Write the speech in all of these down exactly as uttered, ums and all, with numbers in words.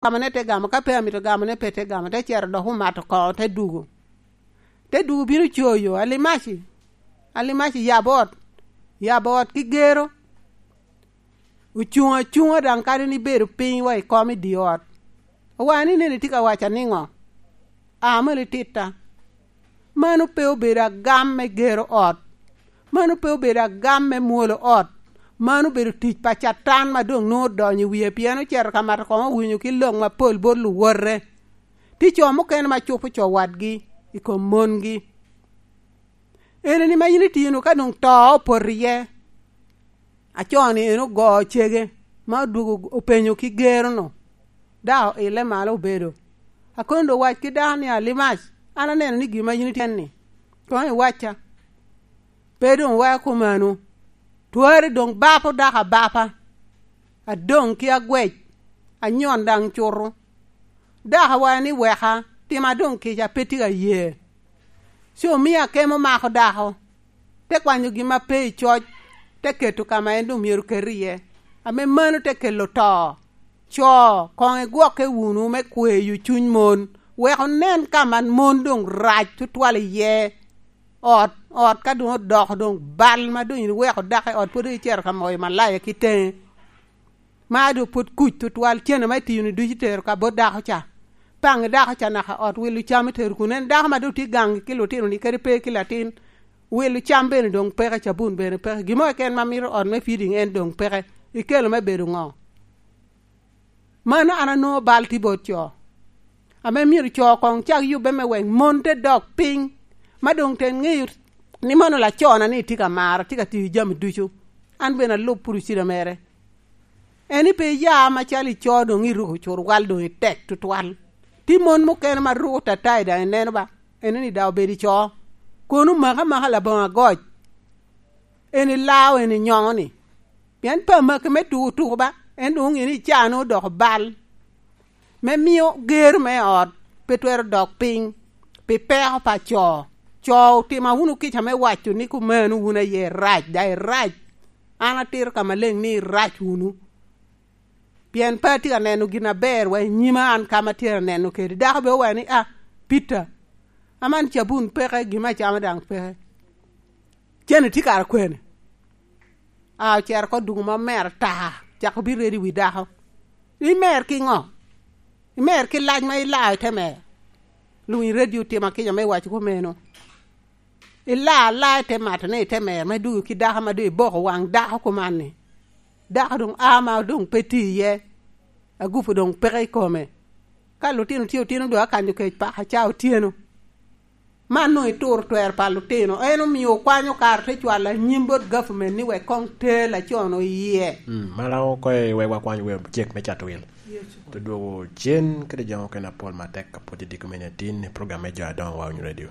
Gamone te gamo, ka pe amito gamone pe te gamo, te cero dok omato koŋo, te dugo. Te dugo bino coyo, "Alimaci, Alimaci, yab ot, yab ot ki gero." Ocuŋ acuŋa daŋ kadi ni bedo piny wa i kom i di ot. Owaŋ ni, "Neni tye ka waca niŋo? A malo ititta." Mano pe obedo agam me gero ot. Mano pe obedo agam me mwolo ot. Mano obedo tic pa Catan ma doŋ nwoŋo odonyo i wie, pien ocito ka mato koŋo owinyo ki lok mapol bot luwote. Tye co mukene ma cupo co wadgi i kom mongi. Ene ni ma yin itino ka doŋ to opoto iye. Acoo-ni en ogo cege, ma odwogo openyo ki gero-nu. Dako oile malo obedo. Akono doŋ wac ki dako ni, "Alimac, an aneno ni gin ma yin ityen-ni, koŋ iwacca." Pe doŋ weko komano. Twari doŋ bapo dako abapa. Adoŋ ki agwec, anyon daŋ cuto. Dako awaco ni, "Weka, tima doŋ kica, pe tye ka ye." Ci omio akemo mako dako, te kwanyo gin ma pe i coc, te keto ka ma en doŋ myero ket iye. Ame mano te kelo to. Co, koŋ igwokke wunu me kweyo cuny mon, wek onen ka man mon doŋ rac tutwal iye. Ot, ot ka doŋ odoko doŋ bal, ma doŋ iweko dako i ot, pwod icito ka moyo malaya ki teŋe. Ma doŋ pwod kuc tutwal, cen ame itino ducu itero ka bot dako ca. Paŋ i dako ca naka ot wilo cam itero kun. En dako ma doŋ tye gaŋ ki lutino-ni kadi pe ki latin, wilo cam bene doŋ peke, cabun bene peke. Gin mo keken ma mito ot me feeding en doŋ peke. Ikelo me bedo ŋo? Mano an anwoŋo bal tye bot co. Ame myero co koŋ cak yubbe me wek mon te dok piny, ma doŋ te ŋeyo ni mano lacona ni tye ka mara, tye ka tiyo jami ducu. An bene alub purcida mere. En ni pe iya macalo ico doŋ iruko curwal doŋ itek tutwal. Tye mon mukene ma ruko tatai daŋ ineno ba, en ni daŋ obedo ico. Kono maka maka laboŋo agoc. En ilao, en inyongo-ni. Pien pe amaki me tuko tuko ba, en doŋ oŋeo ni icaa-nu odoko bal. Me mio ger me ot pe twero dok piny pi peko pa co. Co, otima wunu kica me waco ni kumeno wun aye irac, daŋ irac. An atito ka maleng ni irac wunu. Pien pe atye ka neno gin aber wa i nyima an ka ma atye ka neno kede. Dako be owaco ni, "Ah, Peter, aman cabun peke, gin me acama daŋ peke." Cen itye kara kwene? A, ocero oko dugo ma omer ata, cako bino redo i wi dako. Imer ki ŋo? Imer ki lac ma ilao i te mer? Luŋ i redio otima kica me waco kumeno. Ilaa alaa i te mato ni i te mer, me dugo ki dako ma doŋ iboko waŋ dako kuman-ni. Dako doŋ a ma doŋ pe tye iye. Agupu doŋ peke i kome. Ka lutino tye otino doŋ akanyo kec paka ca otyeno. Man doŋ ituro twer pa lutino. En omio okwanyo kare te cwalo anyim bot government ni wek koŋ ter lacon-nu iye. Mm, malaŋo oko i wek wakwany wer cek me cato wil. Te dwogo cen kede jo mukene apol matek ka pwod itye i komini atin i program me jo adoŋo wa onyo radio.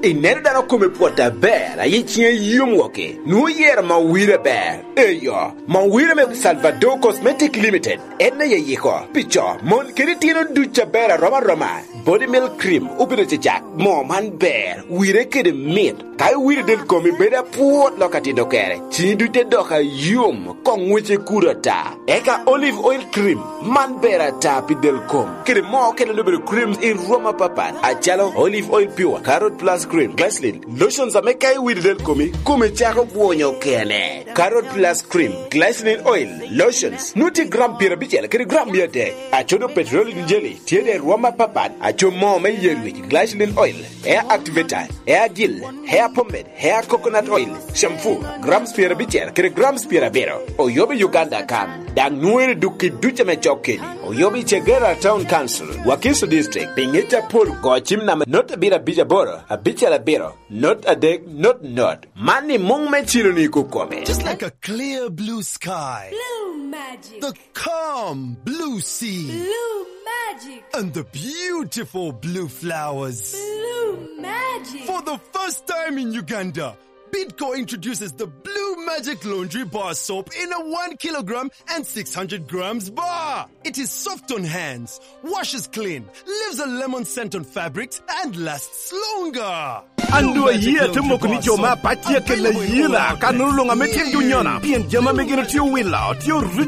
Ineno dano kome pwot aber, aye ciŋe yom woko, nwoŋo yero mawire ber. Eyo, mawire me Salvador Cosmetic Limited, en aye yiko. Pi co, mon kede itino duc aber arom aroma. Body milk cream obedo cecak. Moo man ber, wire kede mit. Ka iwiro del komi bedo apwot lok atito kere, ciŋi duc te dok ayom, koŋ ŋwece kudo ata. Eka olive oil cream, man ber ata pi del kom. Kede moo okene obedo cream i rwom apapat, acalo olive oil pure, carrot plus cream, glycerin, lotions ame ka iwiro del komi, komi cako bwonyo kene. Carrot plus cream, glycerin oil, lotions, nwoŋo tye gram pyerabicel kede gram mia adek. Acodo petroleum jelly, tye de rwom apapat, aco moo me yer wic, glycerin oil, hair activator, hair gel, hair pomade, hair coconut oil, shampoo, grams pyerabicel kede grams pyerabiro. Oyobo i Uganda kan, daŋ nwoŋere duk i duc ame cok keni. Oyobo i Chegera Town Council, Wakiso District, pi ŋec apol go cim namba not abiro abic aboro, abicel abiro, not adek, not not. Man i muŋ me cilo ni kukome. Just like a clear blue sky. Blue magic. The calm blue sea. Blue magic. And the beautiful blue flowers. Blue magic. For the first time in Uganda, Bidco introduces the Blue Magic Laundry Bar Soap in a one kilogram and six hundred grams bar. It is soft on hands, washes clean, leaves a lemon scent on fabrics, and lasts longer. An doŋ ayie ate moko ni jo me apac tye akella ayela, ka nono luŋ ame tye dunyona, pien jami ame gin otye owilo, tye original.